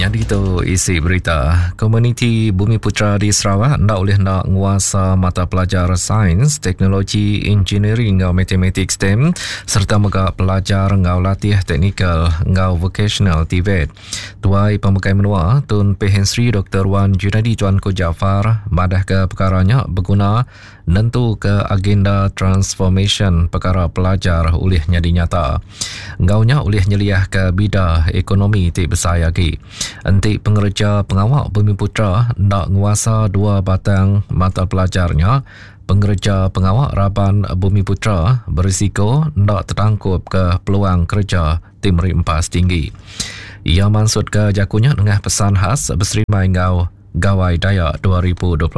Nyadi tu isi berita. Komuniti Bumiputera di Sarawak enda ulih enda nguasa mata pelajar Sains, Teknologi, Engineering enggau Matematik STEM sereta mega pelajar enggau latih teknikal enggau vokasional TVET. Tuai Pemegai Menua Tun Pehin Sri Doktor Wan Junaidi Tuanku Jaafar madahka pekara nya beguna nentuka agenda transformasyen pekara pelajar ulih nyadi nyata. Enggau nya ulih nyeliahka bida ekonomi ti besai agi. Enti pengereja pengawa Bumiputera enda nguasa dua batang mata pelajar nya, pengereja pengawa raban Bumiputera berisiko enda tetangkupka peluang kereja ti meri empas tinggi. Iya mansutka jaku nya nengah pesan khas beserimbai enggau Gawai Dayak 2026.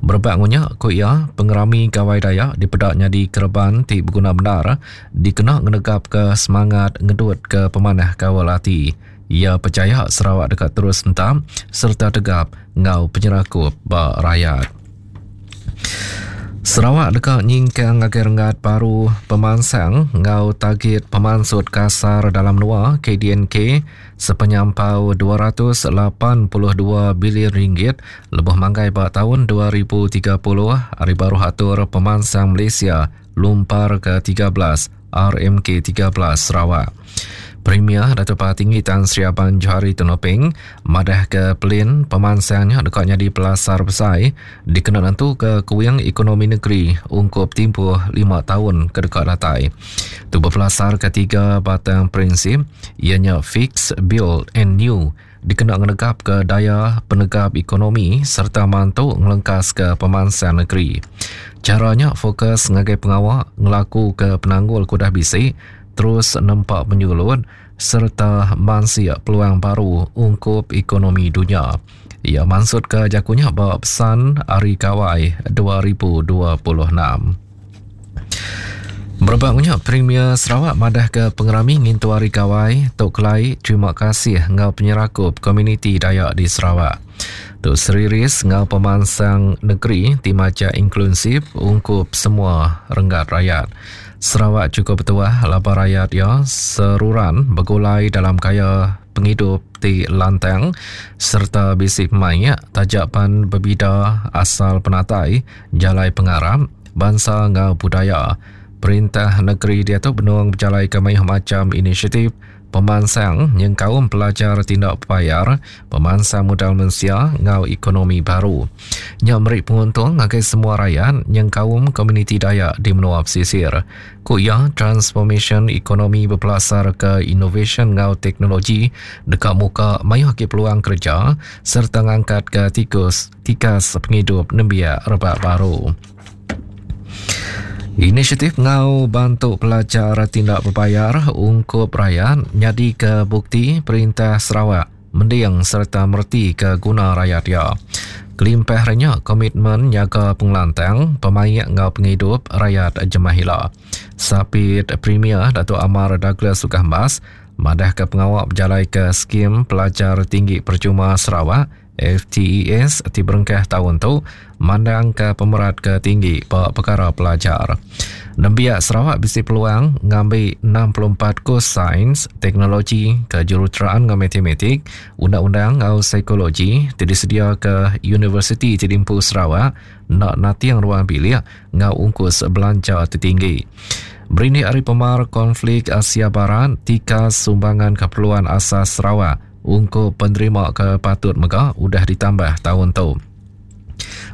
Berebak enggau nya, ku iya, pengerami Gawai Dayak dipeda nyadi kereban ti beguna bendar dikena ngenegapka semangat ngedutka pemanah kaul ati. Iya pechaya Sarawak deka terus entap sereta tegap enggau penyerakup ba rayat. Sarawak deka nyingkang ngagai renggat baru pemansang enggau tagit pemansut kasar dalam menua, KDNK, sepenyampau 282 bilion ringgit lebuh manggai ba taun 2030 ari baruh atur pemansang Malaysia Lumpar ke 13 RMK 13 Sarawak. Premier Datuk Patinggi Tan Sri Abang Johari Tun Openg madahka pelin pemansang nya deka nyadi pelasar besai dikena nentuka kuing ekonomi negeri ungkup timpuh lima taun ke deka datai. Tu bepelasarka tiga batang prinsip iya nya Fix, Build and New dikena ngenegapka daya penegap ekonomi sereta mantu ngelengkaska pemansang negeri. Chara nya fokus ngagai pengawa ngelakuka penanggul ke udah bisi, terus nempa penyulut sereta mansik peluang baru ungkup ekonomi dunya. Iya mansutka jaku nya ba pesan Hari Gawai 2026. Berebak nya, Premier Sarawak madahka pengerami ngintu Hari Gawai tu kelai terima kasih enggau penyerakup komuniti Dayak di Sarawak. Tu seriris enggau pemansang negeri ti majak inklusif ungkup semua renggat rayat. Sarawak chukup betuah laban rayat iya seruran begulai dalam gaya pengidup ti lantang sereta bisi pemaik taja pan bebida asal penatai, jalai pengarap, bansa enggau budaya. Perintah negeri diatu benung bejalaika mayuh macham inisiatif pemansang nyengkaum pelajar ti enda bebayar, pemansang modal mensia enggau ekonomi baru. Nya meri penguntung ngagai semua rayat nyengkaum komuniti Dayak di menua pesisir. Ku iya, transformasyen ekonomi bepelasarka inovasyen enggau teknologi deka muka mayuh agi peluang kereja sereta ngangkatka tikus tikas pengidup nembiak rebak baru. Inisiatif enggau bantu pelajar ti enda bebayar ungkup rayat nyadika bukti Perintah Sarawak mending sereta meretika guna rayat iya. Kelimpah ari nya, komitmen nyaga pengelantang, pemaik enggau pengidup rayat jemah ila. Sapit Premier Datuk Amar Douglas Uggah Embas madahka pengawa bejalaika Skim Pelajar Tinggi Percuma Sarawak FTES ti berengkah taun tu mandangka pemerat ke tinggi ba pekara pelajar. Nembiak Sarawak bisi peluang ngambi 64 kus sains, teknologi, kejuruteraan enggau matematik, undang-undang enggau psikologi ti disediaka universiti ti diempu Sarawak enda nating ruang bilik enggau ungkus belanja ti tinggi. Berindik ari pemar konflik Asia Barat, tikas sumbangan keperluan asas Sarawak Ungkup penerima ke patut mega udah ditambah taun tu.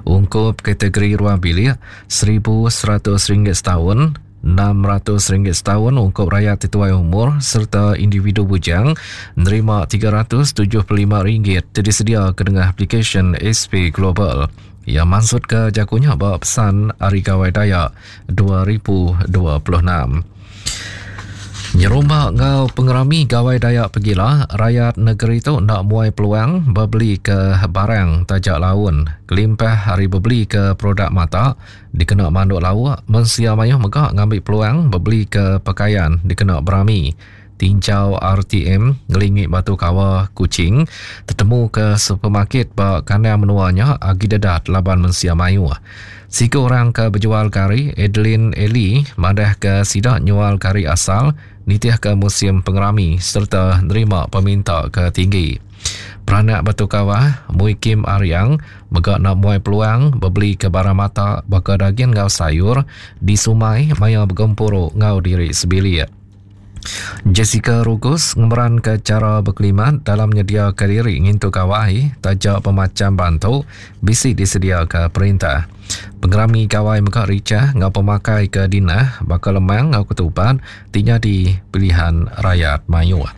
Ungkup kategori ruang bilik, RM1,100 setaun, RM600 setaun ungkup rayat ti tuai umur sereta individu bujang nerima RM375 ti disediaka nengah aplikasyen SP Global. Iya mansutka jaku nya ba pesan Hari Gawai Dayak 2026. Nyerumba enggau pengerami Gawai Dayak pegila, rayat negeri tu enda muai peluang bebeli ke barang taja laun. Kelimpah ari bebeli ke produk mata dikena manduk lauk, mensia mayuh mega ngambi peluang bebeli ke pekayan dikena berami. Tinjau RTM ngelingi Batu Kawa, Kuching tetemuka supermarket ba kandang menua nya agi dedat laban mensia mayuh. Siku orang ke bejual gari, Adeline Ellie madahka sida nyual gari asal nitihka musim pengerami sereta nerima peminta ke tinggi. Peranak Batu Kawah, Mui Kim Ariang mega enda muai peluang bebelika barang mata baka dagin enggau sayur di sumai maya begempuru enggau diri sebilik. Jessica Rugus ngemeranka chara bekelimat dalam nyediaka diri ngintu gawai taja bemacham bantu bisi disediaka perintah. Pengerami gawai mega richah enggau pemakai ke dinah baka lemang enggau ketupat ti nyadi pilihan rayat mayuh.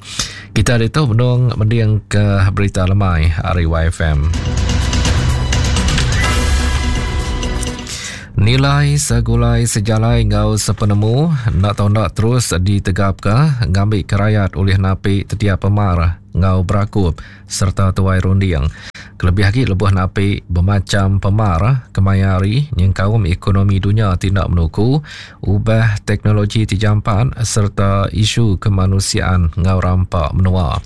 Kita ditu benung mendingka berita lemai ari YFM. Nilai segulai sejalai enggau sepenemu enda tau enda terus ditegapka ngambika rayat ulih napi tetiap pemar enggau berakup sereta tuai runding kelebih agi lebuh napi bemacham pemar kemaya hari nyengkaum ekonomi dunya ti enda menuku, ubah teknologi ti jampat sereta isu kemanusiaan enggau rampa menua.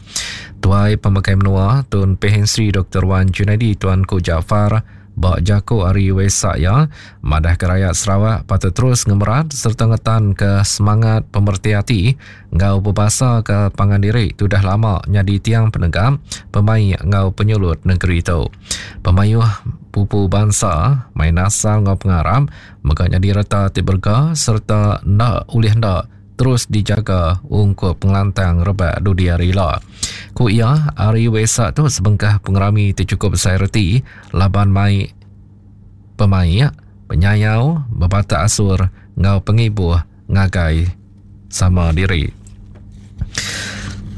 Tuai Pemakai Menua Tun Pehin Sri Doktor Wan Junaidi Tuanku Jaafar Ba jaku ari Wesak iya, madahka rayat Sarawak patut terus ngemerat sereta ngetanka semangat pemereti ati enggau bebasaka pangan diri ti udah lama nyadi tiang penegap, pemaik enggau penyulut nengeri tu. Pemayuh pupu bansa, main asal enggau pengarap mega nyadi reta ti berega sereta enda ulih enda terus dijaga ungkup pengelantang rebak dudi hari ila. Ku iya, Hari Wesak tu sebengkah pengerami ti chukup besai reti laban mai pemaik, penyayau, bebatak asur enggau pengibuh ngagai sama diri.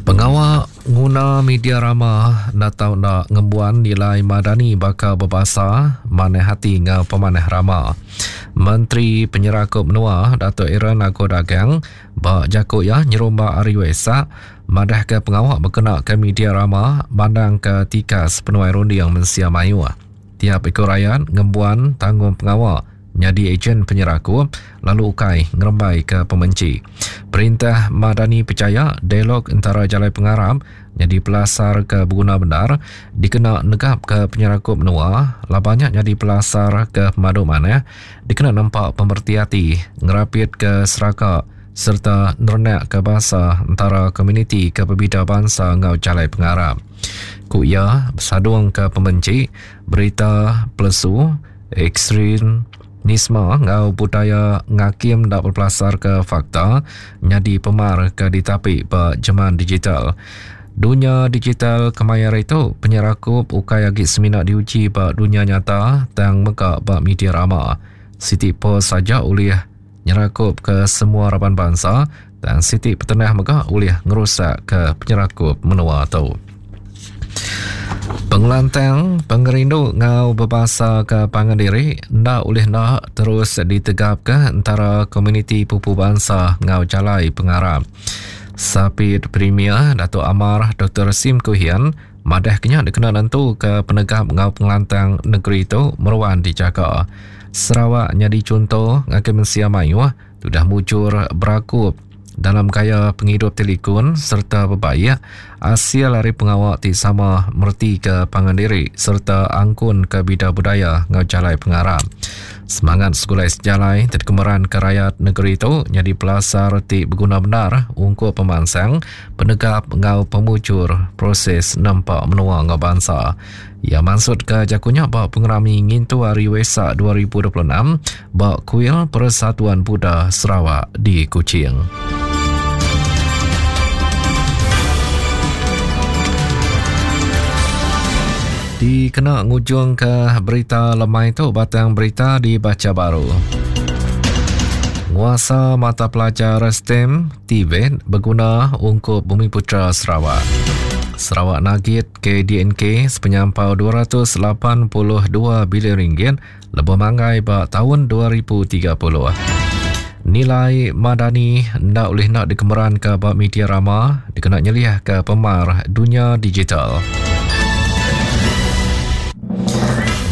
Pengawa nguna media rama enda tau enda ngembuan nilai madani baka bebasa, manah ati enggau pemanah rama. Menteri Penyerakup Menua Datuk Aaron Ago Dagang ba jaku iya nyerumba Hari Wesak madahka pengawa bekenaka media rama mandangka tikas penuai runding mensia mayuh. Tiap iku rayat ngembuan tanggungpengawa nyadi ejen penyerakup lalu ukai ngerembaika pemenchi. Perintah Madani pechaya dialog entara jalai pengarap nyadi pelasar ke beguna bendar dikena negapka penyerakup menua laban nya nyadi pelasar ke pemadu manah dikena nempa pemereti ati, ngerapitka seraka sereta nerenakka basa entara komuniti ke bebida bansa enggau jalai pengarap. Ku iya, besadungka pemenchi, berita pelesu, Ekstremisme enggau budaya ngakim enda bepelasarka fakta nyadi pemar ke ditapi ba jeman digital. Dunya digital kemaya hari tu, penyerakup ukai agi semina diuji ba dunya nyata tang mega ba media rama. Siti post aja ulih nyerakupka semua raban bansa tang siti petenah mega ulih ngerusakka penyerakup menua tu. Pengelantang, pengerindu enggau bebasaka pangan diri enda ulih enda terus ditegapka entara komuniti pupu bansa enggau jalai pengarap. Sapit Premier Datuk Amar Doktor Sim Kui Hian madahka nya dikena nentuka penegap enggau pengelantang negeri tu meruan dijaga. Sarawak nyadi chunto ngagai mensia mayuh Tudah mujur berakup dalam gaya pengidup ti likun sereta bebaik asil ari pengawa ti sama meretika pangan diri sereta angkunka bida budaya enggau jalai pengarap. Semangat segulai sejalai ti dikemeranka rayat negeri tu nyadi pelasar ti beguna bendar ungkup pemansang, penegap enggau pemujur proses nempa menua enggau bansa. Iya mansutka jaku nya ba pengerami ngintu Hari Wesak 2026 ba Kuil Persatuan Buddha Sarawak di Kuching. Dikena ngujungka berita lemai tu batang berita dibacha baru. Nguasa mata pelajar STEM TVET beguna ungkup Bumi Putra Sarawak. Sarawak nagit KDNK sepenyampau 282 bilion ringgit lebuh manggai ba taun 2030. Nilai madani enda ulih enda dikemeranka ba media rama dikena nyeliahka pemar dunya digital.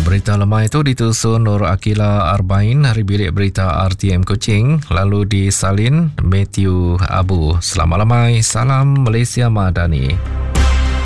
Berita lemai itu ditusun Nur Akila Arbain hari bilik berita RTM Kuching lalu disalin Matthew Abu. Selamat lemai, salam Malaysia Madani.